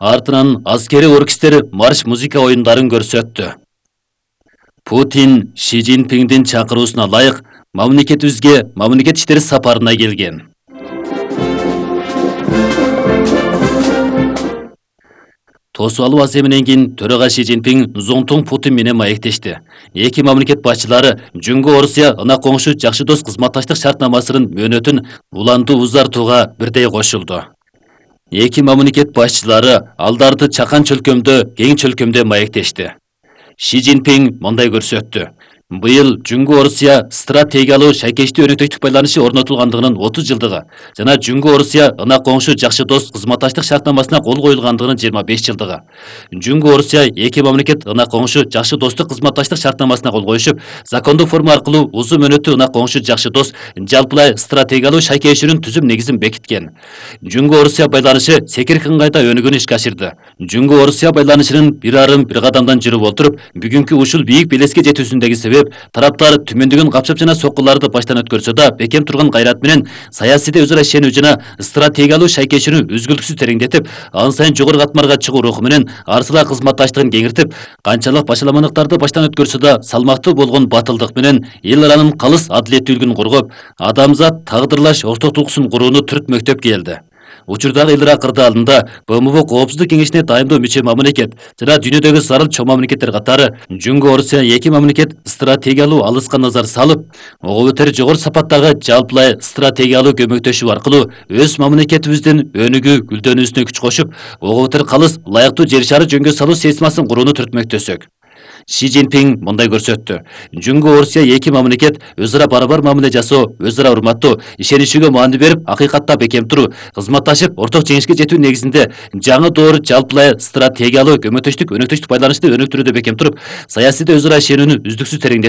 Артынан аскери оркестр марш музыка оюндарын көрсөттү. Путин Ши Цзиньпиңдин чакыруусуна ылайык мамлекетибизге мамлекет иштери сапарына келген. Тосуп алуу аземинен кийин төрага Ши Цзиньпиң Зонтун Путин менен маектешти. Эки мамлекет башчылары Жөнгө Орусия ына коңшу жакшы дос кызматташтык шартнамасынын мөөнөтүн улантуу узартууга бирдей кошулду. Эки мамлекет башчылары алдарды чакан чөлкөмдө, кең чөлкөмдө маектешти. Ши Цзиньпиң мындай көрсөттү. Быйыл Жөнгө Орусия стратегиялуу шайкештүү өнөктөштүк байланышы орнотулгандыгынын 30 жылдыгы жана Жөнгө Орусия ына коңшу жакшы дос кызматташтык шартнамасына кол коюлгандыгынын 25 жылдыгы. Жөнгө Орусия эки мамлекет ына коңшу жакшы достук кызматташтык шартнамасына кол коюшуп, закондук форма аркылуу узун мөөнөттүү ына коңшу жакшы дос жалпылай стратегиялуу шайкешүүнүн түзүм негизин бекиткен. Жөнгө Орусия байланышы секирки ыңгайда өнүгүүнү ишке ашырды. Жөнгө Орусия байланышынын бир кадамдан жүрүп отуруп, бүгүнкү ушул бийик белеске жетүүсүндөгү себеп тараптар түмөндөгөн капчап жана соккуларды баштан өткөрсө да, бекем турган кайрат менен саясийде өзара ишенүү жана стратегиялуу шайкешүүнү үзгүлтүксүз тереңдетип, ан сайын жогору катмарга чыгуу руху менен арсылаа кызматташтыгын кеңиртип, канчалык башаламандыктарды баштан өткөрсө да, салмактуу болгон батылдык менен эл аранын калыс адилеттүүлүгүн коргоп, адамзат тагдырлаш ортоктулуксун курууну түртмөктөп келди. Учурдагы эл акырды алдында БМВ Коопсуздук кеңешине дайымдуу мүчө мамлекет жана дүйнөдөгү зарыл чоң мамлекеттер катары Жөнгө Орусия эки мамлекет стратегиялуу алыска назар салып, ого бетер жогору сапаттагы жалпылай стратегиялуу көмөктөшүү аркылуу өз мамлекетибиздин өнүгүү гүлдөнүүсүнө күч кошуп, ого бетер калыс ылайыктуу жер шары жөнгө салуу системасын курууну түртмөктөсөк. Ши Цзиньпиң мындай көрсөттү. Жөнгө Орусия эки мамлекет өзара барабар мамиле жасоо, өзара урматтоо, ишенишүүгө маани берип, акыйкатта бекем туруу, кызматташып, орток жеңишке жетүү негизинде жаңы доор жалпылай стратегиялуу көмөктөштүк өнөктөштүк байланышты өнүктүрүүдө бекем туруп, саясийде өзара ишенүүнү үздүксүз тереңдетип,